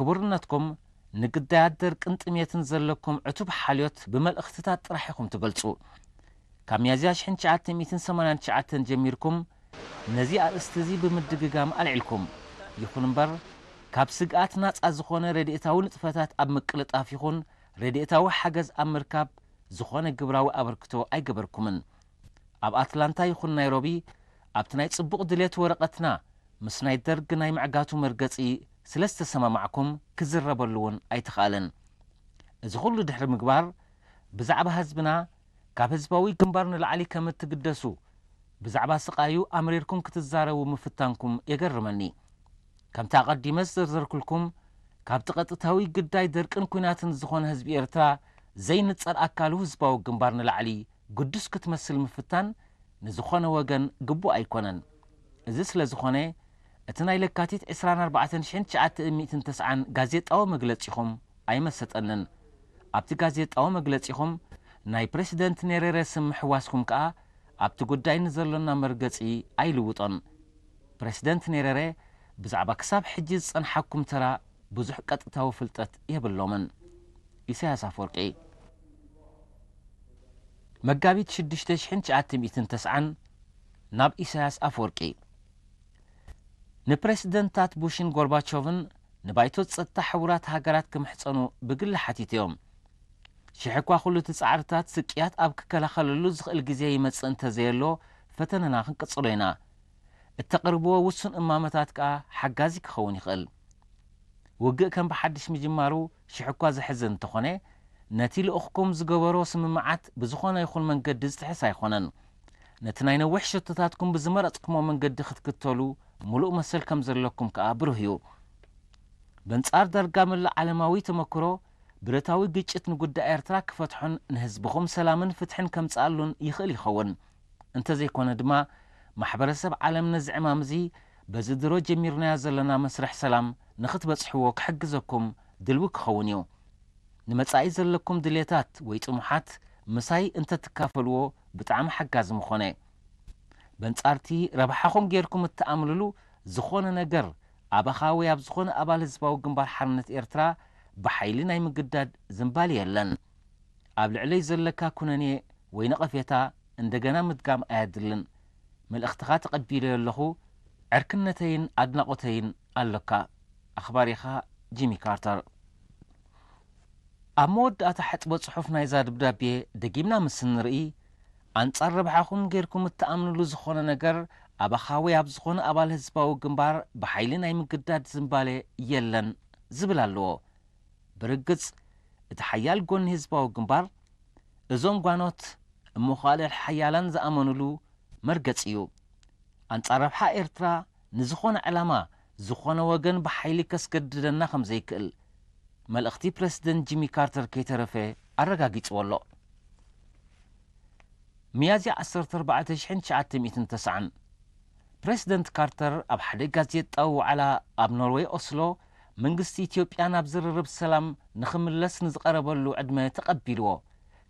ክቡርነትኩም ንግዳያት ደርቅን ጥሜትን ዘለኩም ዕቱብ ሓልዮት ብመልእኽትታት ጥራሕ ኢኹም ትገልጹ። ካብ ሚያዝያ ሽሕን ትሽዓተ ሚእትን ሰማንያን ትሽዓተን ጀሚርኩም ነዚ ኣርእስቲ እዚ ብምድግጋም ኣልዒልኩም። ይኹን እምበር፣ ካብ ስግኣት ናጻ ዝኾነ ረድኤታዊ ንጥፈታት ኣብ ምቅልጣፍ ይኹን ረድኤታዊ ሓገዝ ኣብ ምርካብ ዝኾነ ግብራዊ ኣበርክቶ ኣይገበርኩምን። ኣብ ኣትላንታ ይኹን ናይሮቢ ኣብቲ ናይ ጽቡቕ ድሌት ወረቐትና ምስ ናይ ደርግ ናይ ምዕጋቱ መርገጺ ስለ ዝተሰማማዕኩም ክዝረበሉ እውን ኣይተኻእለን። እዚ ኩሉ ድሕሪ ምግባር ብዛዕባ ህዝብና ካብ ህዝባዊ ግንባር ንላዕሊ ከም እትግደሱ ብዛዕባ ስቓዩ ኣምሪርኩም ክትዛረቡ ምፍታንኩም የገርመኒ። ከምቲ ኣቐዲመ ዝዘርዘርኩልኩም ካብቲ ቀጥታዊ ግዳይ ደርቅን ኲናትን ዝኾነ ህዝቢ ኤርትራ ዘይንጸል ኣካሉ ህዝባዊ ግንባር ንላዕሊ ግዱስ ክትመስል ምፍታን ንዝኾነ ወገን ግቡእ ኣይኮነን። እዚ ስለ ዝኾነ እቲ ናይ ለካቲት ዕስራን ኣርባዕተን ሽሕን ትሽዓተ ሚእትን ተስዓን ጋዜጣዊ መግለጺኹም ኣይመሰጠንን። ኣብቲ ጋዜጣዊ መግለጺኹም ናይ ፕረሲደንት ኔሬረ ስም ምሕዋስኩም ከኣ ኣብቲ ጉዳይ ንዘሎና መርገጺ ኣይልውጦን። ፕረሲደንት ኔሬረ ብዛዕባ ክሳብ ሕጂ ዝጸንሓኩም ተራ ብዙሕ ቀጥታዊ ፍልጠት የብሎምን። ኢሳያስ ኣፈወርቂ። መጋቢት ሽዱሽተ ሽሕን ትሽዓተ ሚእትን ተስዓን ናብ ኢሳያስ ኣፈወርቂ። ንፕረሲደንታት ቡሽን ጎርባቾቭን ንባይቶ ጸጥታ ሕቡራት ሃገራት ክምሕጸኑ ብግሊ ሓቲተዮም። ሽሕ እኳ ኩሉ እቲ ጻዕርታት ስቅያት ኣብ ክከላኸለሉ ዝኽእል ግዜ ይመጽእ እንተዘየሎ፣ ፈተነና ክንቅጽሎ ኢና። እተቕርብዎ ውሱን እማመታት ከኣ ሓጋዚ ክኸውን ይኽእል። ውግእ ከም ብሓድሽ ምጅማሩ ሽሕ እኳ ዘሕዝን እንተኾነ፣ ነቲ ልኡኽኩም ዝገበሮ ስምምዓት ብዝኾነ ይኹን መንገዲ ዝጥሕስ ኣይኮነን። ነቲ ናይ ነዊሕ ሸቶታትኩም ብዝመረጽኩሞ መንገዲ ክትክተሉ ምሉእ መሰል ከም ዘለኩም ከኣ ብሩህ እዩ። በንጻር ዳርጋ መላእ ዓለማዊ ተመክሮ፣ ብረታዊ ግጭት ንጉዳይ ኤርትራ ክፈትሖን ንህዝብኹም ሰላምን ፍትሕን ከምጽኣሉን ይኽእል ይኸውን። እንተዘይኮነ ድማ፣ ማሕበረሰብ ዓለም ነዚ ዕማም እዚ በዚ ድሮ ጀሚርናዮ ዘለና መስርሕ ሰላም ንኽትበጽሕዎ ክሕግዘኩም ድልዊ ክኸውን እዩ። ንመጻኢ ዘለኩም ድሌታት ወይ ጥሙሓት ምሳይ እንተትካፈልዎ ብጣዕሚ ሓጋዚ ምኾነ። በንጻርቲ ረብሓኹም ጌርኩም እትኣምልሉ ዝኾነ ነገር ኣባኻ ወይ ኣብ ዝኾነ ኣባል ህዝባዊ ግንባር ሓርነት ኤርትራ ብሓይሊ ናይ ምግዳድ ዝንባሌ የለን። ኣብ ልዕለይ ዘለካ ኩነኔ ወይ ነቐፌታ እንደገና ምድጋም ኣየድልን። መልእኽትኻ ተቐቢለዮ ኣለኹ። ዕርክነተይን ኣድናቖተይን ኣሎካ። ኣኽባሪኻ ጂሚ ካርተር። ኣብ መወዳእታ ሕጥቦ ጽሑፍ ናይዛ ደብዳቤ ደጊምና ምስ እንርኢ፣ ኣንጻር ረብሓኹም ጌርኩም እትኣምንሉ ዝኾነ ነገር ኣባኻ ወይ ኣብ ዝኾነ ኣባል ህዝባዊ ግንባር ብሓይሊ ናይ ምግዳድ ዝንባሌ የለን ዝብል ኣለዎ። ብርግጽ፣ እቲ ሓያል ጎኒ ህዝባዊ ግንባር፣ እዞም ጓኖት እሞ ኻልእ ሓያላን ዝኣመኑሉ መርገጺ እዩ። ኣንጻር ረብሓ ኤርትራ ንዝኾነ ዕላማ ዝኾነ ወገን ብሓይሊ ከስገድደና ከም ዘይክእል፣ መልእኽቲ ፕረሲደንት ጂሚ ካርተር ከይተረፈ ኣረጋጊጽዎ ኣሎ። ሚያዝያ ዓሰርተ ኣርባዕተ ሽሕን ትሽዓተ ሚእትን ተስዓን፣ ፕረሲደንት ካርተር ኣብ ሓደ ጋዜጣዊ ዋዕላ ኣብ ኖርወይ ኦስሎ፣ መንግስቲ ኢትዮጵያ ናብ ዝርርብ ሰላም ንኽምለስ ንዝቐረበሉ ዕድመ ተቐቢልዎ፣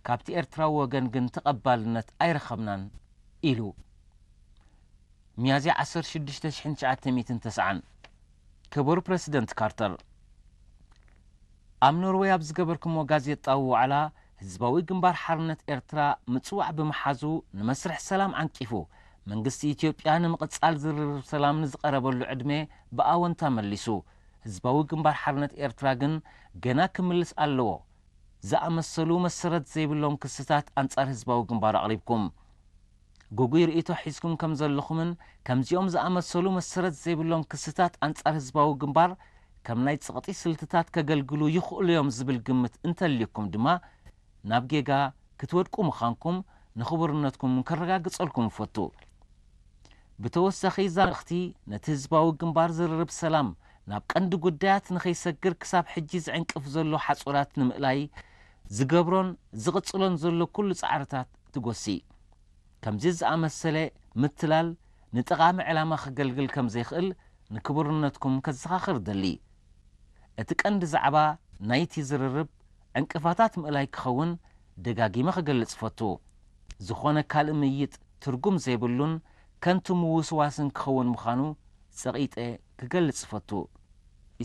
ካብቲ ኤርትራዊ ወገን ግን ተቐባልነት ኣይረኸብናን ኢሉ። ሚያዝያ ዓሰርተ ሽዱሽተ ሽሕን ትሽዓተ ሚእትን ተስዓን። ክቡር ፕረሲደንት ካርተር፣ ኣብ ኖርወይ ኣብ ዝገበርኩሞ ጋዜጣዊ ዋዕላ፣ ህዝባዊ ግንባር ሓርነት ኤርትራ ምጽዋዕ ብምሓዙ ንመስርሕ ሰላም ዓንቂፉ፣ መንግስቲ ኢትዮጵያ ንምቕጻል ዝርርብ ሰላም ንዝቐረበሉ ዕድመ ብኣወንታ መሊሱ። ህዝባዊ ግንባር ሓርነት ኤርትራ ግን ገና ክምልስ ኣለዎ ዝኣመሰሉ መሰረት ዘይብሎም ክስታት ኣንጻር ህዝባዊ ግንባር ኣቕሪብኩም። ግጉይ ርእይቶ ሒዝኩም ከም ዘለኹምን ከምዚኦም ዝኣመሰሉ መሰረት ዘይብሎም ክስታት ኣንጻር ህዝባዊ ግንባር ከም ናይ ጸቕጢ ስልትታት ከገልግሉ ይኽእሉ እዮም ዝብል ግምት እንተልዩኩም ድማ ናብ ጌጋ ክትወድቁ ምዃንኩም ንኽቡርነትኩም ከረጋግጸልኩም እፈቱ። ብተወሳኺ እዛ መልእኽቲ ነቲ ህዝባዊ ግንባር ዝርርብ ሰላም ናብ ቀንዲ ጉዳያት ንኸይሰግር ክሳብ ሕጂ ዝዕንቅፍ ዘሎ ሓጹራት ንምእላይ ዝገብሮን ዝቕጽሎን ዘሎ ኩሉ ጻዕርታት ትጎሲ። ከምዚ ዝኣመሰለ ምትላል ንጠቓሚ ዕላማ ከገልግል ከም ዘይክእል ንክቡርነትኩም ከዘኻኽር እደሊ። እቲ ቀንዲ ዛዕባ ናይቲ ዝርርብ ዕንቅፋታት ምእላይ ክኸውን ደጋጊመ ክገልጽ እፈቱ። ዝኾነ ካልእ ምይይጥ ትርጉም ዘይብሉን ከንቱ ምውስዋስን ክኸውን ምዃኑ ጸቒጠ ክገልጽ እፈቱ።